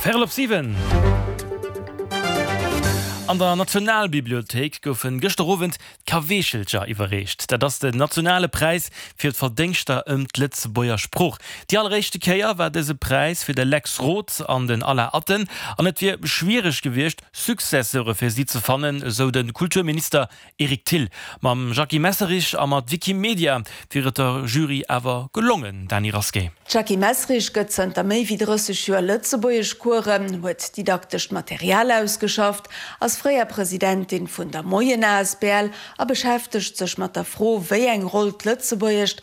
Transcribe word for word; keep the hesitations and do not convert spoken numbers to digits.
Véierel op siwen. An der Nationalbibliothéik goufen gëschter Owend d'Kaweechelcher iwwerreecht. Dat ass den nationale Präis fir d'Verdéngschter ëm d'Lëtzebuerger Sprooch. Déi alleréischte Kéier war dëse Präis fir de Lex Roth an den Alain Atten an et wier schwiereg gewiescht, Successeure fir si ze fannen, esou de Kulturminister Eric Thill. Mam Jackie Messerich a mat Wikimedia wier et der Jury awer gelongen, Dany Rasqué. D'Jackie Messerich gëtt zënter méi wéi drësseg Joer Lëtzebuergeschcoursen, huet didaktescht Material ausgeschafft, ass fréier Presidentin vun der Moien asbl a beschäftegt sech mat der Fro, wéi eng Roll d'Lëtzebuergescht